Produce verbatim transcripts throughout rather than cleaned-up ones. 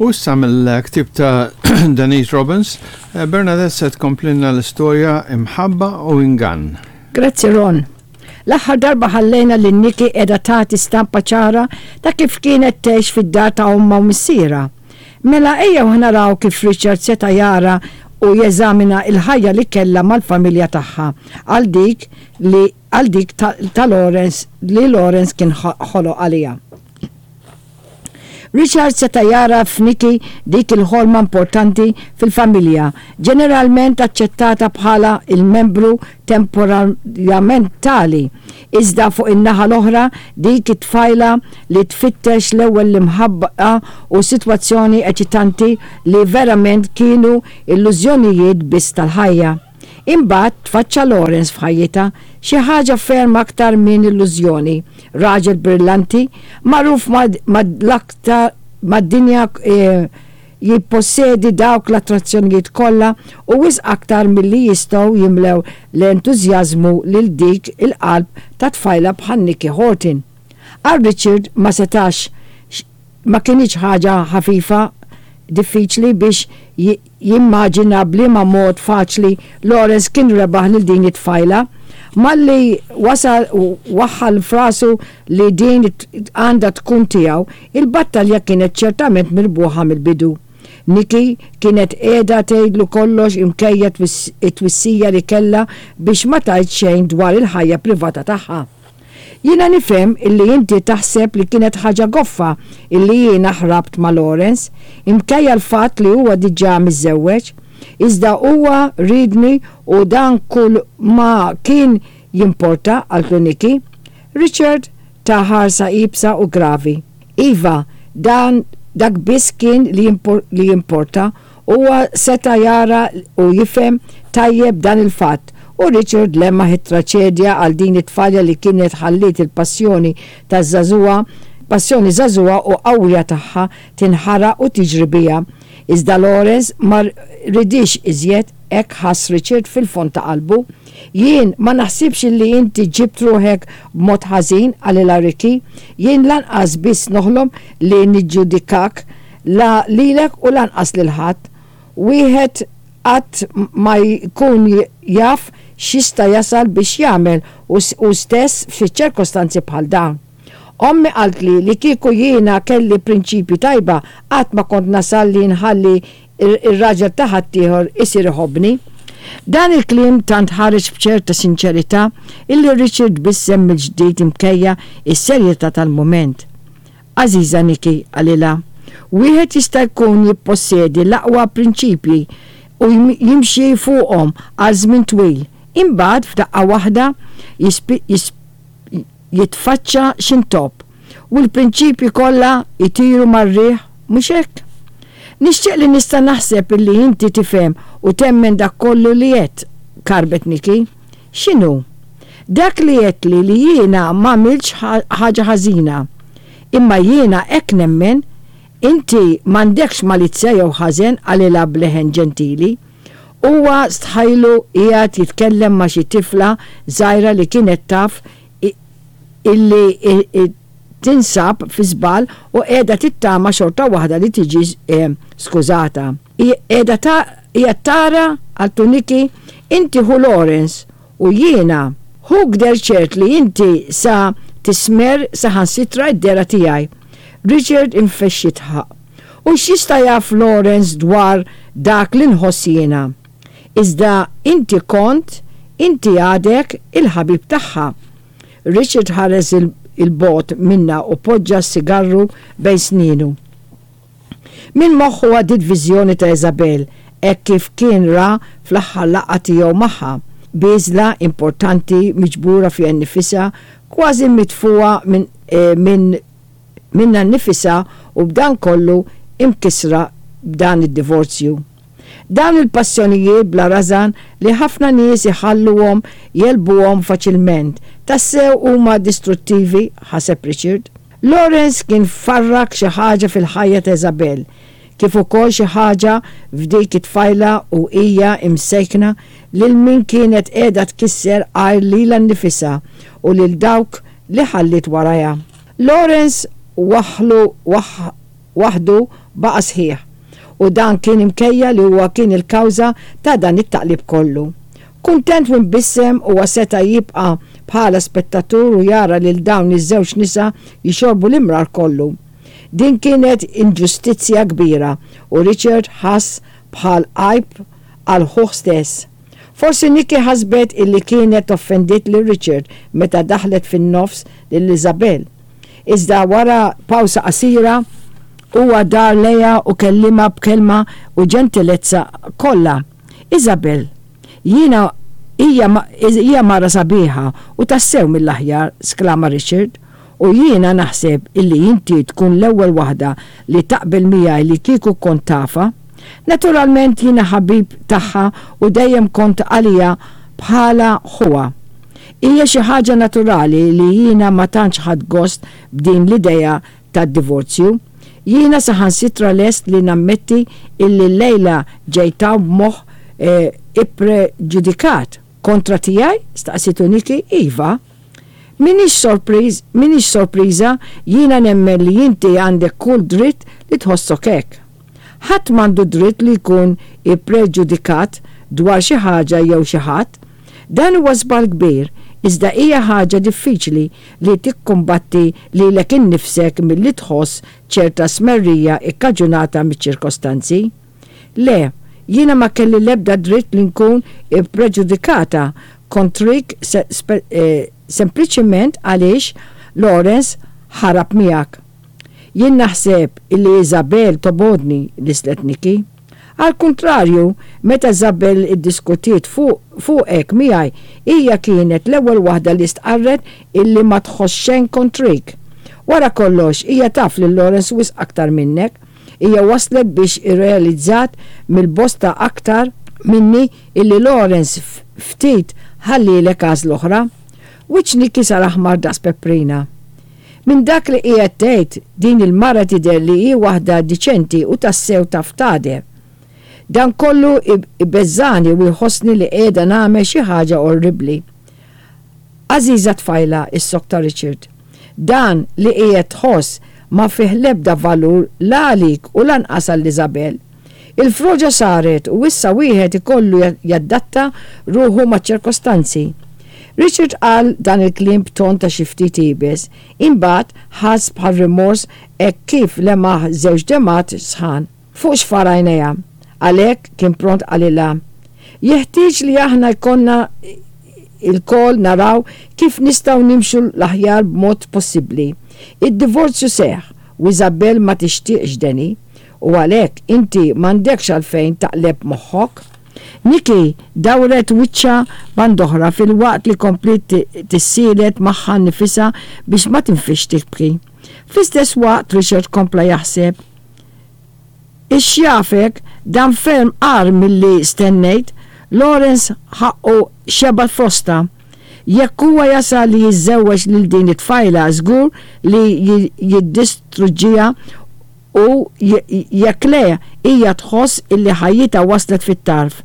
U issa mill-ktib ta' Denise Robbins, eh, Bernadette se tkomplilna l-istorja Imħabba u Ingann. Grazzi, Ron. L-aħħar darba ħallejna lil Nikki qiegħda tagħti stampa ċara ta' kif kienet tgħix fid-dar ta' ommha u missierha. Mela ejjew naraw kif Richard seta' jara u jeżamina il-ħajja li kellha mal-familja tagħha għal dik li għal dik ta', ta Lawrence li Lawrence kien ħoloq għaliha. Richard seta' jara f'Nikki dik il-ħolma importanti fil-familja, ġeneralment aċċettata bħala il-membru temporamentali. Iżda fuq in-naħa l-oħra, dik it-tfajla li tfittex l-ewwel l-imħabba u sitwazzjoni eċitanti li verament kienu illużjonijiet biss tal-ħajja. Imbagħad tfaċċa Lawrence f'ħajjitha, xi ħaġa ferm aktar minn illużjoni, raġel brillanti, magħruf mal-aktar mad-dinja, eh, jippossedi dawk l-attrazzjonijiet kollha u wisq aktar milli jistgħu jimlew l-entużjażmu lil dik il-qalb ta' tfajla bħal Nikki Horton. Għal Richard ma setax, ma kienx ħaġa ħafifa diffiċli biex jimmaġina b'liema mod faċli Lawrence kien rebaħ lil din it-tfajla. Malli wasal waħħal f'rasu li din għandha tkun tiegħu, il-battalja kienet ċertament mirbuħa mill-bidu. Nikki kienet qiegħda tgħidlu kollox imkejja it-twissija li kellha biex ma tgħid xejn dwar il-ħajja privata tagħha. "Jiena nifhem illi inti taħseb li kienet ħaġa goffa illi jiena ħrabt ma' Lawrence, imkejja l-fatt li huwa diġà miżżewweġ, iżda huwa ridni u dan kull ma kien jimporta," qaltlu Nikki. Richard ta ħarsa iebsa u gravi. "Iva, dan dak biss kien li jimporta." Huwa seta' jara u jifhem tajjeb dan il-fatt. U Richard lemaħ it-traċedja għal din it-tfajla li kienet ħalliet il-passjoni ta' żagħżugħa, passjoni żagħżugħa u qawwija tagħha tinħaraq u tiġri biha. Iżda Lawrence ma ridix iżjed, hekk ħass Richard fil-fond ta' qalbu. "Jien ma naħsibx li inti ġibt ruħek b'mod ħażin," qalilha Ricky. "Jien lanqas biss noħlom li niġġudikak, la lilek u lanqas lil ħadd. Wieħed qatt ma jkun jaf x'jista' jasal biex jagħmel u stess fi ċirkostanzi bħal dawn. Ommi qaltli li kieku jiena kelli prinċipji tajba qatt ma kont nasal li nħalli ir-raġel ta' ħaddieħor isir iħobbni." Dan il-kliem tant ħareġ b'ċerta sinċerità illi Richard tbissem mill-ġdid imkejja is-serjetà tal-mument. "Għażiża Nikki," qalilha, "wieħed jista' jkun jippossedi l-aqwa prinċipji u jimxi fuqhom għal żmien twil. Imbagħad f'daqqa waħda jitfaċċa x'intopp u l-prinċipji kollha jtiru mar-riħ, mhux hekk? Nixtieq li nista' naħseb illi inti tifhem u temmen dak kollu li qed," karbet Nikki. "X'inhu?" "Dak li qed li li jiena m'għamiltx ħaġa ħażina. Imma jiena hekk nemmen. Inti m'għandekx malizzja jew ħażen," qalilha b'leħen ġentili. Huwa stħajlu qiegħed jitkellem ma' xi tifla żgħira li kienet taf illi tinsab fi żball u qiegħda tittama xorta waħda li tiġi eh, skużata. "Qiegħda qiegħed tara," qaltlu Nikki, "inti ħu Lawrence u jiena ħuk der ċert li inti sa tismer saħansitra id-dehra tiegħi." Richard infexx jidħaq. "U x'jista' jaf Lawrence dwar dak li nħoss jiena? Iżda inti kont, inti għadek il-ħabib tagħha." Richard ħares 'il bogħod minnha u poġġa s-sigarru bejn sninu. Min moħħu għaddiet viżjoni ta' Isabel hekk kif kien ra fl-aħħar laqgħa tiegħu magħha. Bieżla importanti miġbura fiha nnifisha, kważi mitfuha minn eh, min minnha nnifisha u b'dan kollu imkisra b'dan id-divorzju. Dawn il-passjonijiet bla rażan li ħafna nies iħalluhom jegħlbuhom faċilment, tassew huma distruttivi, ħaseb Richard. Lawrence kien farrak xi ħaġa fil-ħajja ta' Isabel, kif ukoll xi ħaġa f'dik it-tfajla u hija imsejkna lil min kienet qiegħda tkisser għajr lilha nnifisha u lil dawk li ħallit warajha. Lawrence waħlu waħdu baqa' sħiħ u dan kien imkejja li huwa kien il-kawża ta' dan it-taqlib kollu. Kuntent u mbissem huwa seta' jibqa' bħala spettatur u jara lil dawn iż-żewġ nisa jixorbu l-imrar kollu. Din kienet inġustizzja kbira u Richard ħass bħal għajb għal ħuh stess. Forsi Nikki ħasbet illi kienet offendiet lil Richard meta daħlet fin-nofs lil Isabel. Iżda wara pawsa qasira huwa dar lejha u kellimha b'kelma u ġentilezza kollha. Isabel, jiena hija hija mara sabiħa u tassew mill-aħjar, sklama Richard, u jiena naħseb illi inti tkun l-ewwel waħda li taqbel miegħi li kieku kont tafha. Naturalment jiena ħabib tagħha u dejjem kont għalija bħala ħuha. Hija xi ħaġa naturali li jiena ma tantx ħadt gost b'din l-idea tad-divorzju. Jiena saħansitra lest li nammetti illi llejla ġejt hawn b'moħħ eh, ippreġudikat. Kontra tiegħi? Staqsitu Nikki. Iva. Minix sorpriż, minix sorpriża, jiena nemmen li inti għandek kull dritt li tħossok hekk. Ħadd m'għandu dritt li jkun ippreġudikat dwar xi ħaġa jew xi ħadd. Dan huwa żball kbir, iżda hija ħaġa diffiċli li tikkumbatti lilek innifsek milli tħoss ċerta smerrija ikkaġunata miċ-ċirkostanzi. Le, jiena ma kelli l-ebda dritt li nkun ippreġudikata kontrik se, spe, eh, sempliċement għaliex Lawrence ħarab miegħek. Jien naħseb illi Isabel tobgħodni, lissnet Nikki. Al kontrarju, meta Isabel iddiskutiet fuqek miegħi, hija kienet l-ewwel waħda li stqarret illi ma tħoss xejn kontrik. Wara kollox, hija taf lil Lawrence wisq aktar minnek. Hija waslet biex irrealizzat mill-bosta aktar minni illi Lawrence ftit ħallilek għażla oħra. Wiċċ Nikki sar aħmar daqs peprina. Minn dak li qiegħed tgħid din il-mara tidher li hi waħda diċenti u tassew taf tagħder. Dan kollu ibeżżani u jħossni li qiegħda nagħmel xi ħaġa orribli. Għażiża tfajla, issokta Richard. Dan li qiegħed tħoss ma fih l-ebda valur la għalik u lanqas għal Isabel. Il-froġa saret u issa wieħed ikollu jaddatta ruħu ma' ċirkostanzi. Richard qal dan il-kliem b'ton ta' xi ftit iebes, imbagħad ħass bħal rimors hekk kif lemaħ żewġ demgħat sħan fuq xfar għajnejha. Għalhekk kien pront qalilha. Jeħtieġ li aħna jkollna ilkoll naraw kif nistgħu nimxu l-aħjar b'mod possibbli. Id-divorzju seħħ u Isabel ma tixtieqx deni u għalhekk inti m'għandekx għalfejn taqleb moħħok. Nikki dawret wiċċha band'oħra filwaqt li kompliet tissielet magħha nnifisha biex ma tinfixx tibki. Fl-istess waqt Richard kompla jaħseb. Ix-xjafek dan ferm agħar milli stennejt, Lawrence ħaqqu xebgħa frosta. Jekk huwa jasal li jiżżewweġ lil din it-tfajla żgur li jiddistruġġiha u jekk le hija tħoss illi ħajjitha waslet fit-tarf.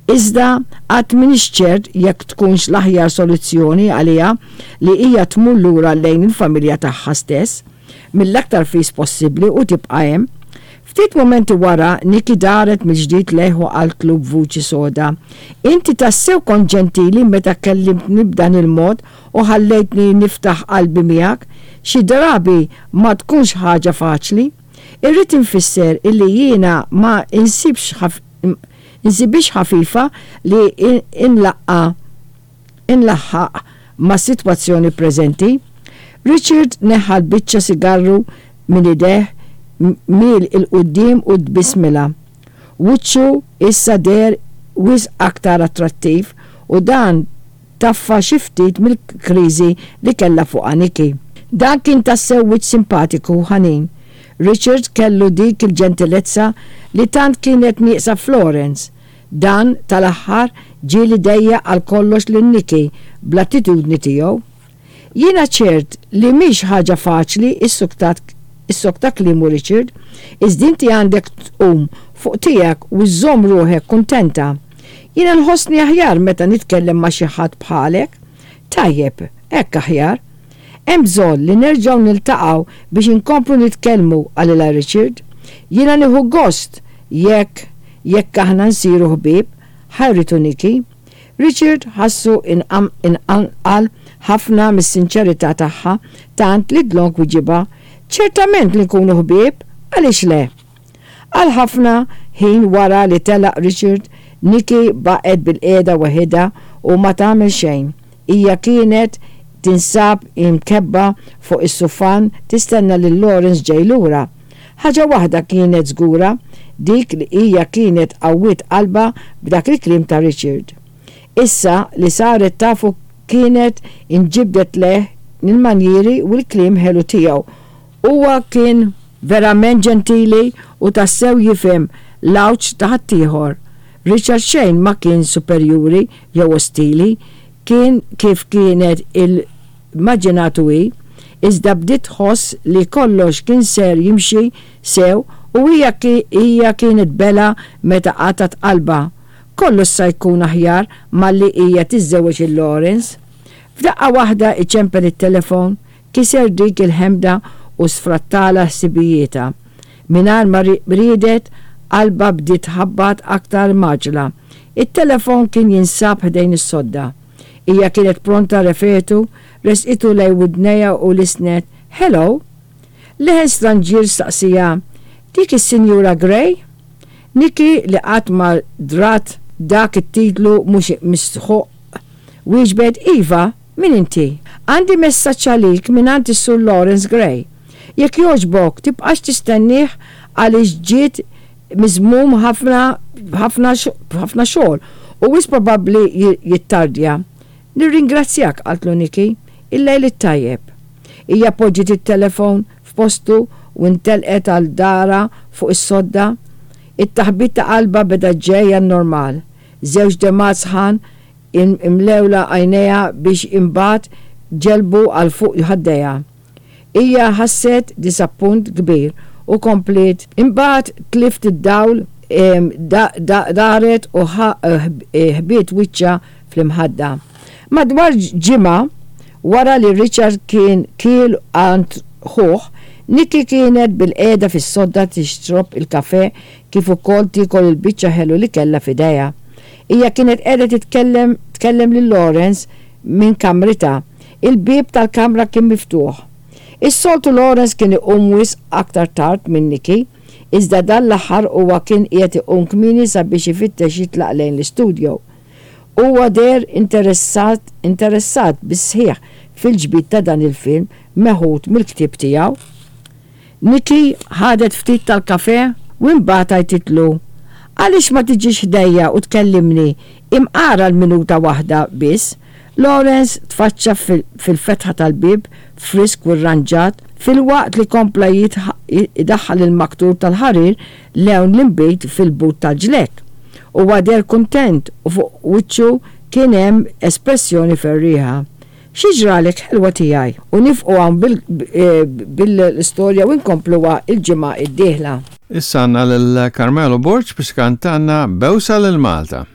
Iżda għad m'iniex ċert jekk tkunx l-aħjar soluzzjoni għaliha li hija tmur lura lejn il-familja tagħha stess mill-aktar fis possibbli u tibqa' hemm. Ftit momenti wara, Nikki daret mill-ġdid lejh u qaltlu b'vuċi soda. Inti tassew kont ġentili meta kellimtni b'dan il-mod u ħallejtni niftaħ qalbi miegħek, xi drabi ma tkunx ħaġa faċli. Irrid infisser illi jiena ma insibx insibix ħafifa li inlaqqa inlaħħaq ma' sitwazzjoni preżenti. Richard neħħa l-biċċa sigarru minn ideh miel 'il quddiem u tbissmilha. Wiċċu issa deher wisq aktar attrattiv u dan taffa xi ftit mill-kriżi li kellha fuqha Nikki. Dan kien tassew wiċċ simpatiku u ħanin. Richard kellu dik il-ġentilezza li tant kienet nieqsa f'Lawrence. Dan tal-aħħar ġieli dejjaq għal kollox lil Nikki bl-attitudni tiegħu. Jiena ċert li mhix ħaġa faċli issokta kliemu Richard, iżda inti għandek tqum fuq tiegħek u żżomm ruħek kuntenta. Jiena nħossni aħjar meta nitkellem ma' xi ħadd bħalek. Tajjeb, hekk aħjar. Hemm bżonn li nerġgħu niltaqgħu biex inkomplu nitkellmu, qalilha Richard. Jiena nieħu gost jekk jekk aħna nsiru ħbieb, ħajritu Nikki. Richard ħassu imqanqal ħafna mis-sinċerità tagħha tant li dlonk wiġibha, ċertament li nkunu ħbieb, għaliex le? Għal ħafna ħin wara li telaq Richard, Nikki baqgħet bilqiegħda waħidha u ma tagħmel xejn. Hija kienet tinsab imkebba fuq is-sufan tistenna lil Lawrence ġej lura. Ħaġa waħda kienet żgura, dik li hija kienet qawwiet qalbha b'dak il-kliem ta' Richard. Issa li saret tafu kienet inġibdet lejh il-manjieri u l-kliem ħelu tiegħu. Huwa kien verament ġentili u tassew jifhem l-għawġ ta' ħaddieħor. Richard xejn ma kien superjuri jew ostili, kien kif kienet immaġinatu hi, iżda bdiet tħoss li kollox kien ser jimxi sew u hija hija kienet belha meta qatgħet qalbha. Kollox sa jkun aħjar malli hija tiżżewweġ lil Lawrence. F'daqqa waħda iċempel it-telefon, kiser dik il-ħemda u sfrattalha ħsibijietha. Mingħajr ma riedet, qalbha bdiet tħabbat aktar mgħaġġla. It-telefon kien jinsab ħdejn is-sodda. Hija kienet pronta refgħetu, ressqitu lejn widnejha u lissnet, "Hello?" Leħen stranġier staqsieha, "Dik is-Sinjura Grey?" Nikki li qatt ma drat dak it-titlu mhux mistħoq wieġbet, "Iva, min inti? Għandi messaġġ għalik minn is-Sur Lawrence Gray. Jekk jogħġbok tibqax tistennih għaliex ġiet miżmum ħafna ħafna ħafna xogħol u wisq probabbli jittardja. Nirringrazzjak, qaltlu Nikki, il-lejl it-tajjeb. Hija poġġiet it-telefon f'postu u intelqet għal darha fuq is-sodda. It-taħbit ta' qalbha beda ġej normal. Żewġ demgħat sħan imlewlha għajnejha biex imbagħad ġelbu għal fuq ħaddejha. Hija ħasset disappunt kbir u kompliet. Imbagħad tlift id-dawl daret u ħbiet wiċċha fl-imħadda. Madwar ġimgħa wara li Richard kien kiel għand ħuh, Nikki kienet bilqiegħda fis-sodda tixrob il-kafe kif ukoll tiekol il-biċċa ħelu li kellha f'idejha. Hija kienet qiegħda titkellem tkellem lil Lawrence minn kamritha. Il-bieb tal-kamra kien miftuħ. Is-soltu Lawrence kien iqum wisq aktar tard minn Nikki, iżda dan l-aħħar huwa kien qiegħed iqum kmieni sabiex ifittex jitlaq lejn l-istudio. Huwa deher interessat interessat bis-sħiħ fil-ġbid ta' dan il-film meħud mill-ktieb tiegħu. Nikki ħadet ftit tal-kafe u imbagħad għajtitlu, "Għaliex ma tiġix ħdejja u tkellimni imqar għal minuta waħda biss?" Lawrence tfaċċa fil-fetħa tal-bib frisk u rranġat filwaqt li kompla jidaħħal il-maktur tal-ħarir lewn l-inbid fil-but tal-ġlekk. Huwa deher kuntent u fuq wiċċu kien hemm espressjoni ferrieħa. Xi ġralek ħelwa tiegħi? U nieqfu hawn bil-istorja u nkompluha il-ġimgħa id-dieħla. Issa għandna lil Carmelo Borg biex jkantalna Bewsa lil Malta.